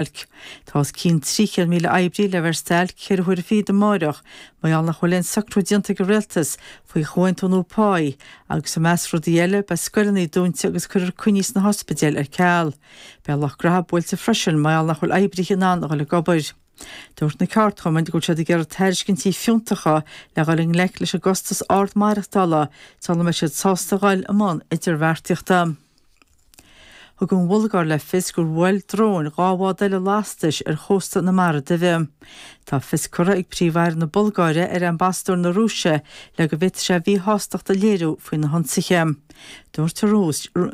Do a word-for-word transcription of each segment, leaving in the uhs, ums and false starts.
stailc. Tá os cionn trí chéad míle oibrí le bheith ar stailc ceithre huaire fichead amáireach mar gheall nach bhfuil aon socrú déanta ag an rialtas faoi chomhaontú nua páí agus i measc rudaí eile beidh scoileanna dúnta agus cuirfear coinní sna hospidéil ar ceal. Beidh lucht graithe buailte freisin mar gheall nach bhfuil oibrithe in ann a dhul ag obair. Dúirt na ceardchumainn go bhfuil siad ag iarraidh tairiscintí fiúntacha le dhul i ngleic leis an gcostas ard maireachtála sula mbeidh siad sásta dhul i mbun idirbheartaíochta. Thug an Bhulgáir le fios gur bhuail dróin dhá bhád eile lastais ar chósta na Mara Duibhe. Tá fios curtha ag Príomh-Aire na Bulgáire ar ambasadóir na Rúise le go bhféadfadh sé a mhíshástacht a léiriú faoi na hionsaithe. Dúirt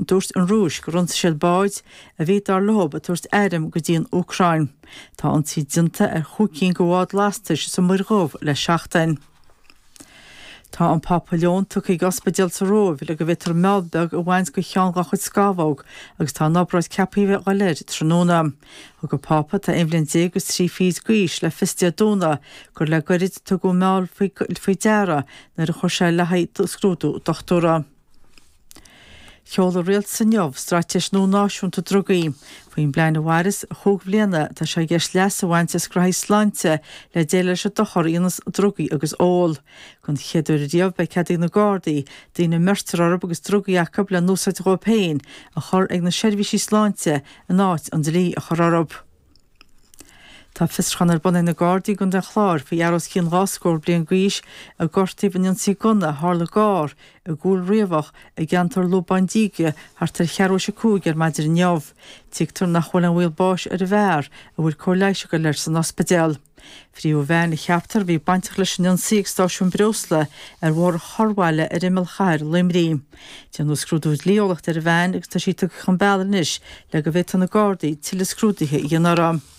dúirt an Rúis gur ionsaigh siad báid a bhí dar leo ag tabhairt airm go dtí an Úcráin. Tá ionsaí déanta ar chúig cinn de bháid lastais sa Muir Dhubh le seachtain. Tá an Pápa Leon tugtha ag ospidéal sa Róimh le go bhféadfar meall beag a bhaint de cheann dá chuid scamhóg agus tá an obráid ceaptha a bheith ag dul air tráthnóna. Thug an Pápa atá aon bhliain déag agus trí fichid d'aois le fios Dé Domhnaigh gur le gairid a tugadh an meall faoi deara nuair a chuir sé le haghaidh scrúdú dochtúra. Sheol an rialtas inniu straitéis nua náisiúnta drugaí. Faoin bplean a mhairfeas chúig bhliana tá sé i gceist leas a bhaint as graithí sláinte le déileáil leis an dochar a dhéanas drugaí agus ól. Don chéad uair riamh beidh cead ag na Gardaí daoine a mbeirtear orthu agus drugaí acu le n-úsáid dhóibh féin a chur ag na seirbhísí sláinte in áit an dlí a chur orthu. Tá fiosrúchán ar bun ag na Gardaí i gContae an Chláir faoi fhear os cionn dhá scór bliain d'aois a gortaíodh in ionsaí gunna a tharla gar i gCúil Riabhach i gceantar Lúbán Díge thart ar cheathrú théis a cúig ar maidin inniu. Tuigtear nach bhfuil aon bhaol báis ar an bhfear a bhfuil cóir leighis ag dul air san ospidéal. Frítheadh veain a cheaptar a bhí bainteach leis an ionsaí ag stáisiún breosla ar Bhóthar Chorrbhaile ar imeall chathair Luimnigh. Déanadh scrúdú dlí-eolaíochta ar an veain agus tá sí tugtha chun bealaigh anois le go bhféadfadh na Gardaí tuilleadh scrúduithe a dhéanamh uirthi.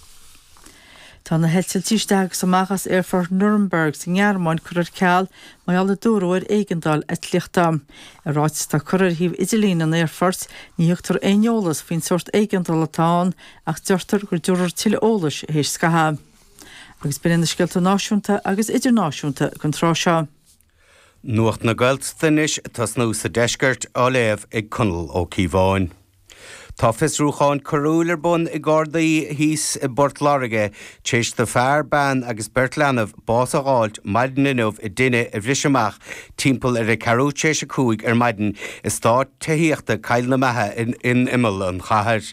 Tá na heitiltí isteach agus amach as aerfort Nuremberg sa nGearmáin curtha ar ceal mar gheall a dúradh ar éigeandáil eitlíochta. I ráiteas atá curtha ar shuíomh idirlín an aerfoirt, ní thugtar aon eolas faoin sórt éigeandála atá ann ach deirtear go dtabharfar tuilleadh eolais théis scaitheamh. Agus b'in iad na scéalta náisiúnta agus idirnáisiúnta don tráth seo. Nuacht na Gaeltachta anois ag tosnú sa deisceart á léamh ag Conall Ó Cíobháin. Tá fiosrúchán coiriúil ar bun ag Gardaí thíos i bPort Láirge tar éis do fear, bean agus beirt leanbh bás a dh'fháilt maidin inniu i dtine a bhris amach timpeall ar a ceathrú tar éis a cúig ar maidin i eastát tithíochta Cill na Maithe in, in imeall an chathair.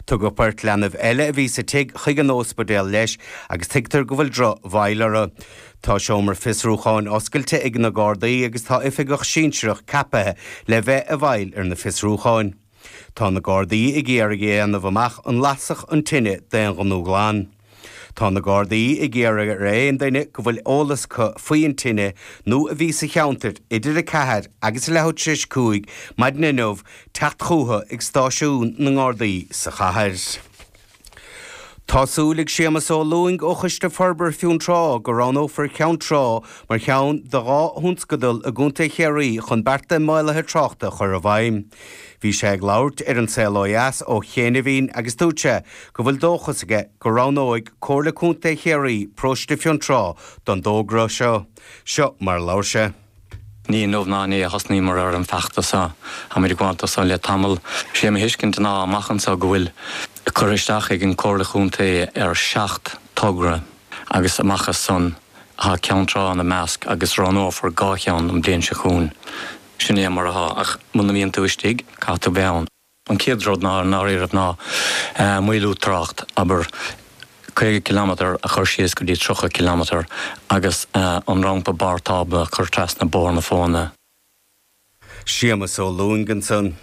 Tugadh beirt leanbh eile a bhí sa tigh chuig an ospidéal leis agus tuigtear go bhfuil drochbhail orthu. Tá seomra fiosrúcháin oscailte ag na Gardaí agus tá oifigeach sinsearach ceaptha le bheith i bhfeighil ar na fiosrúcháin. Tá na Gardaí ag iarraidh a dhéanamh amach an lasadh an tine d'aon ghnó glan. Tá na Gardaí ag iarraidh ar aon duine go bhfuil eolas acu faoi an tine nó a bhí sa cheantar idir a ceathair agus a leathuair tar éis cúig maidin inniu teacht chucu ag stáisiún na nGardaí sa chathair. Tá súil ag Séamus Ó Lúing ó Choiste Forbartha Fionntrá go roghnófar Ceann Trá mar cheann de dhá thionscadal i gContae Chiarraí chun bearta maolaithe tráchta a chur i bhfeidhm. Bhí sé ag labhairt ar An Saol Ó Dheas ó chianaibh agus dúirt sé go bhfuil dóchas aige go roghnóidh Comhairle Contae Chiarraí paróiste Fionntrá don dtogra seo. Seo mar a labhair sé. Ní inniu ná inné a thosnaíomar ar an bhfeachtas seo, táimid ag gabháil seo le tamall. Sé mo thuiscint ná amach anseo go bhfuil cur isteach ag an Comhairle Chontae ar seacht togra agus amach as san tá Ceann Trá ina measc agus roghnófar dhá cheann an bhliain seo chugainn. Sin é mar atá ach muna mbíonn tú istigh caithfidh tú bheith ann. An chéad rud ná náiríreamh ná maolú trácht abair caoga kilometre a chur síos go dtí tríocha kilometre agus an rampa barr tábla a chur trasna Bóthar na Fóna. Séamus Ó Lúing ansan.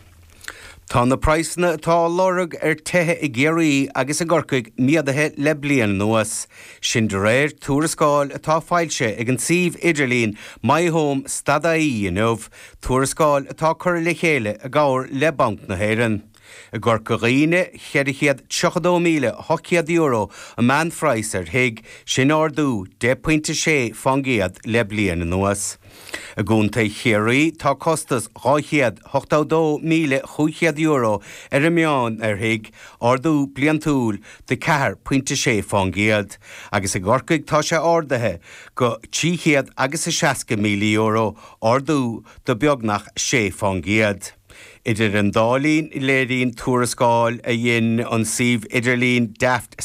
Tá na praghsanna atá á lorg ar tithe i gCiarraí agus i gCorcaigh méadaithe le bliain anuas. Sin de réir tuarascáil atá foilsithe ag an suíomh idirlín MyHome stad IE inniu, tuarascáil atá curtha le chéile i gcomhar le Banc na hÉireann. I gCorca Dhuibhne, ceithre chéad tríocha dó míle ocht chéad euro an meánphraghas ar thigh, sin ardú deich pointe sé faoin gcéad le bliain anuas. I gContae Chiarraí tá costas dhá chéad ochtó dó míle chúig chéad euro ar an meán ar thigh, ardú bliantúil de ceathair pointe sé faoin gcéad, agus i gCorcaigh tá sé ardaithe go trí chéad agus a seasca míle euro, ardú de beagnach sé faoin gcéad. Idir an dá linn léiríonn tuarascáil a dhein an suíomh idirlín Daft